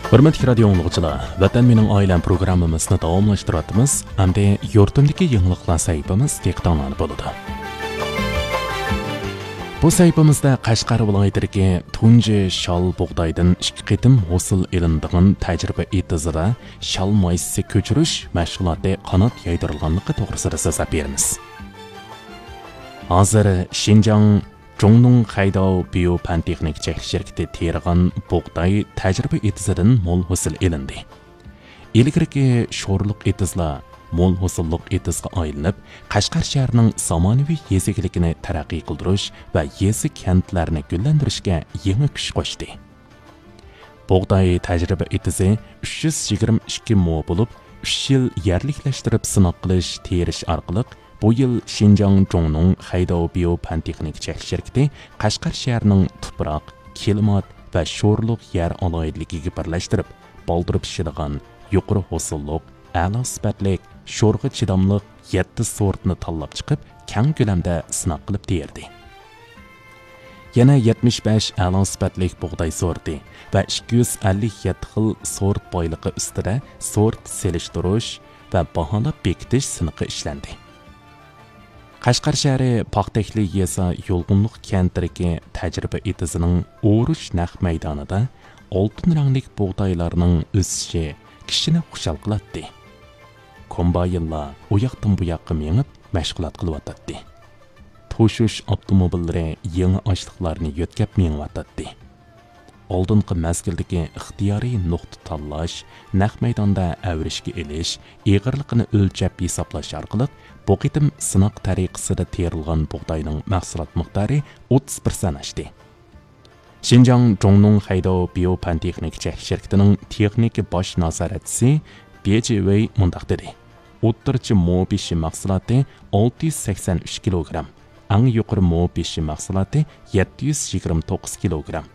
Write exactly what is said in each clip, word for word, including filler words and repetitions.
ھۆرمەتلىك رادىيو ئاڭلىغۇچىلار، ۋەتەن مېنىڭ ئائىلەم پروگراممىمىزنى داۋاملاشتۇرۇۋاتىمىز. ئەمدى يۇرتۇمدىكى يېڭىلىقلار سەھىپىمىز دىققىتىڭلاردا بولىدۇ. بۇ سەھىپىمىزدە قەشقەر ۋىلايىتىدىكى تۇنجى شال بۇغدايدىن ئىككى قېتىم ھوسۇل ئېلىنىدىغان تەجرىبە ئېتىزىدا شال مايسىسى كۆچۈرۈش مەشغۇلاتى قانات يايدۇرۇلغانلىقى توغرىسىدا سۆزلەپ بېرىمىز. ھازىر شىنجاڭ جۇڭنۇڭ خەيداۋ بىيو پەن تېخنىكا چەكلىك شىركىتى تېرىغان بۇغداي تەجرىبە ئېتىزىدىن مول ھوسۇل ئېلىندى. ئىلگىرىكى شورلۇق ئېتىزلار مول ھوسۇللۇق ئېتىزغا ئايلىنىپ، قەشقەر شەھىرىنىڭ زامانىۋى يېزا ئىگىلىكىنى تەرەققىي قىلدۇرۇش ۋە يېزا كەنتلەرنى گۈللەندۈرۈشكە يېڭى كۈچ قوشتى. بۇغداي تەجرىبە ئېتىزى ئۈچ يۈز يىگىرمە ئىككى مو بولۇپ، ئۈچ يىل يەرلىكلەشتۈرۈپ سىناق قىلىش، تېرىش ئارقىلىق بۇ يىل شىنجاڭ جۇڭنۇڭ خەيداۋ بىيو پەن تېخنىكا چەكلىك شىركىتى قەشقەر شەھىرىنىڭ تۇپراق، كىلىمات ۋە شورلۇق يەر ئالاھىدىلىكىگە بىرلەشتۈرۈپ، بالدۇر پىشىدىغان، يۇقىرى ھوسۇللۇق، ئەلا سۈپەتلىك، شورغا چىداملىق يەتتە سورتنى تاللاپ چىقىپ، كەڭ كۆلەمدە سىناق قىلىپ تېرىدى. يەنە يەتمىش بەش ئەلا سۈپەتلىك بۇغداي سورتى ۋە ئىككى يۈز ئەللىك يەتتە خىل سورت بايلىقى ئۈستىدە سورت سېلىشتۇرۇش ۋە باھالاپ بېكىتىش سىنىقى ئىشلەندى. قەشقەر شەھىرى پاختەكلى يېزا يولغۇنلۇق كەنتىدىكى تەجرىبە ئېتىزىنىڭ ئورۇش نەق مەيدانىدا ئالتۇن رەڭلىك بۇغدايلارنىڭ ئۆسۈشى كىشىنى خۇشال قىلاتتى. كومباينلار ئۇ ياقتىن بۇ ياققا مېڭىپ مەشغۇلات قىلىۋاتاتتى. توشۇش ئاپتوموبىللىرى يېڭى ئاشلىقلارنى يۆتكەپ مېڭىۋاتاتتى. ئالدىنقى مەزگىلدىكى ئىختىيارىي نۇقتا تاللاش، نەق مەيداندا ئەۋرىشكە ئېلىش، ئېغىرلىقىنى ئۆلچەپ ھېسابلاش ئارقىلىق، بۇ قېتىم سىناق تەرىقىسىدە تېرىلغان بۇغداينىڭ مەھسۇلات مىقدارى ئوتتۇز پىرسەنت ئاشتى. شىنجاڭ جۇڭنۇڭ خەيداۋ بىيو پەن تېخنىكا چەكلىك شىركىتىنىڭ تېخنىكا باش نازارەتچىسى بې جې ۋېي مۇنداق دېدى: ئوتتۇرىچە مو بېشى مەھسۇلاتى ئالتە يۈز سەكسەن ئۈچ كىلوگرام، ئەڭ يۇقىرى مو بېشى مەھسۇلاتى يەتتە يۈز يىگىرمە توققۇز كىلوگرام.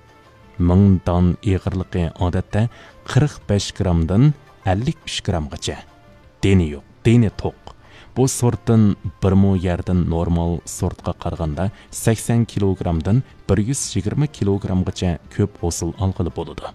مىڭ دان ئېغىرلىقى ئادەتتە قىرىق بەش گرامدىن ئەللىك ئۈچ گرامغىچە. دېنى يوق، دېنى توق. بۇ سورتتىن بىر مو يەردىن نورمال سورتقا قارىغاندا سەكسەن كىلوگرامدىن بىر يۈز يىگىرمە كىلوگرامغىچە كۆپ ھوسۇل ئالغىلى بولىدۇ.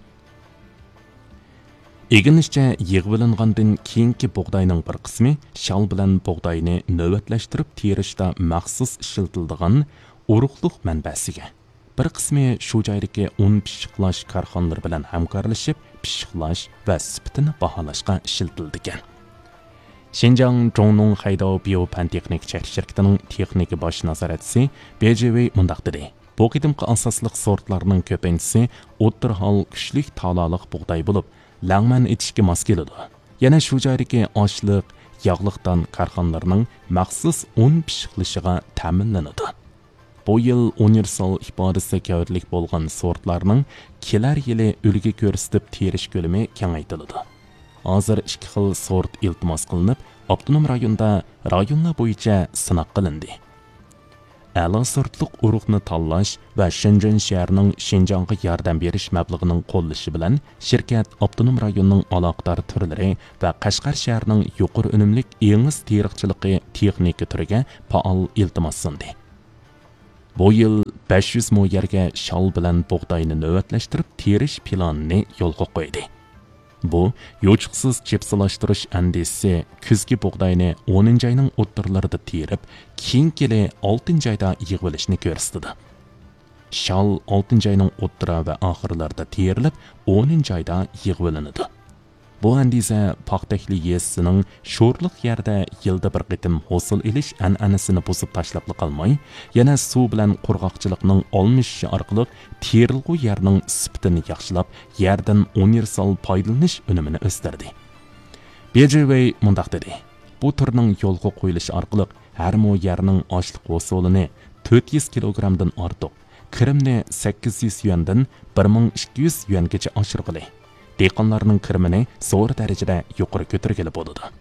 ئىگىلىنىشىچە، يىغىۋېلىنغاندىن كېيىنكى بۇغداينىڭ بىر قىسمى شال بىلەن بۇغداينى نۆۋەتلەشتۈرۈپ تېرىشتا مەخسۇس ئىشلىتىلىدىغان ئۇرۇقلۇق مەنبەسىگە، بىر قىسمى شۇ جايدىكى ئۇن پىششىقلاش كارخانىلىرى بىلەن ھەمكارلىشىپ پىششىقلاش ۋە سۈپىتىنى باھالاشقا ئىشلىتىلىدىكەن. شىنجاڭ جۇڭنۇڭ خەيداۋ بىيو پەن تېخنىكا چەكلىك شىركىتىنىڭ تېخنىكا باش نازارەتچىسى بې جې ۋېي مۇنداق دېدى: بۇ قېتىمقى ئاساسلىق سورتلارنىڭ كۆپىنچىسى ئوتتۇرا ھال كۈچلۈك تالالىق بۇغداي بولۇپ، لەڭمەن ئېتىشكە ماس كېلىدۇ. يەنە شۇ جايدىكى ئاشلىق، ياغلىق دان كارخانىلىرىنىڭ مەخسۇس ئۇن پىششىقلىشىغا تەمىنلىنىدۇ. بۇ يىل ئۇنىۋېرسال ئىپادىسى گەۋدىلىك بولغان سورتلارنىڭ كېلەر يىلى ئۈلگە كۆرسىتىپ تېرىش كۆلىمى كېڭەيتىلىدۇ. ھازىر ئىككى خىل سورت ئىلتىماس قىلىنىپ، ئاپتونوم رايوندا رايونلار بويىچە سىناق قىلىندى. ئەلا سورتلۇق ئۇرۇقنى تاللاش ۋە شېنجېن شەھىرىنىڭ شىنجاڭغا ياردەم بېرىش مەبلىغىنىڭ قوللىشى بىلەن، شىركەت ئاپتونوم رايوننىڭ ئالاقىدار تۈرلىرى ۋە قەشقەر شەھىرىنىڭ يۇقىرى ئۈنۈملۈك ئېڭىز تېرىقچىلىقى تېخنىكا تۈرىگە پائال ئىلتىماس سۇندى. بۇ يىل بەش يۈز مو يەرگە شال بىلەن بۇغداينى نۆۋەتلەشتۈرۈپ تېرىش پىلانىنى يولغا قويدى. بۇ يوچۇقسىز چىپسلاشتۇرۇش ئەندىزىسى كۈزگى بۇغداينى ئونىنچى ئاينىڭ ئوتتۇرىلىرىدا تېرىپ، كېيىنكى يىلى ئالتىنچى ئايدا يىغىۋېلىشنى كۆرسىتىدۇ. شال ئالتىنچى ئاينىڭ ئوتتۇرا ۋە ئاخىرلىرىدا تېرىلىپ، ئونىنچى ئايدا يىغىۋېلىنىدۇ. بۇ ئەندىزە پاختەكلى يېزىسىنىڭ شورلۇق يەردە يىلدا بىر قېتىم ھوسۇل ئېلىش ئەنئەنىسىنى بۇزۇپ تاشلاپلا قالماي، يەنە سۇ بىلەن قۇرغاقچىلىقنىڭ ئالمىشىشى ئارقىلىق تېرىلغۇ يەرنىڭ سۈپىتىنى ياخشىلاپ، يەردىن ئۇنىۋېرسال پايدىلىنىش ئۈنۈمىنى ئۆستۈردى. بې جې ۋېي مۇنداق دېدى: بۇ تۈرنىڭ يولغا قويۇلۇشى ئارقىلىق ھەر مو يەرنىڭ ئاشلىق ھوسۇلىنى تۆت يۈز كىلوگرامدىن ئارتۇق، كىرىمنى سەككىز يۈز يۈەندىن بىر مىڭ ئىككى يۈز يۈەنگىچە ئاشۇرغىلى، دېھقانلارنىڭ كىرىمىنى زور دەرىجىدە يۇقىرى كۆتۈرگىلى بولىدۇ.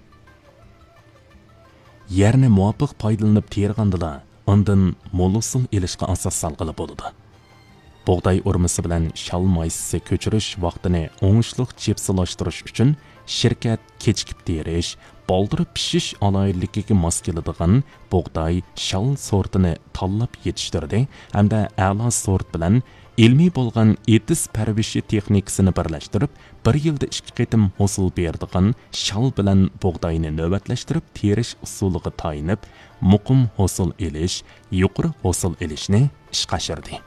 يەرنى مۇۋاپىق پايدىلىنىپ تېرىغاندىلا، ئاندىن مول ھوسۇل ئېلىشقا ئاساس سالغىلى بولىدۇ. بۇغداي ئورمىسى بىلەن شال مايسىسى كۆچۈرۈش ۋاقتىنى ئوڭۇشلۇق چىپسلاشتۇرۇش ئۈچۈن، شىركەت كېچىكىپ تېرىش، بالدۇر پىشىش ئالاھىدىلىكىگە ماس كېلىدىغان بۇغداي، شال سورتىنى تاللاپ يېتىشتۈردى ھەمدە ئەلا سورت بىلەن ئىلمىي بولغان ئېتىز پەرۋىشى تېخنىكىسىنى بىرلەشتۈرۈپ، بىر يىلدا ئىككى قېتىم ھوسۇل بېرىدىغان شال بىلەن بۇغداينى نۆۋەتلەشتۈرۈپ تېرىش ئۇسۇلىغا تايىنىپ، مۇقىم ھوسۇل ئېلىش، يۇقىرى ھوسۇل ئېلىشنى ئىشقا ئاشۇردى.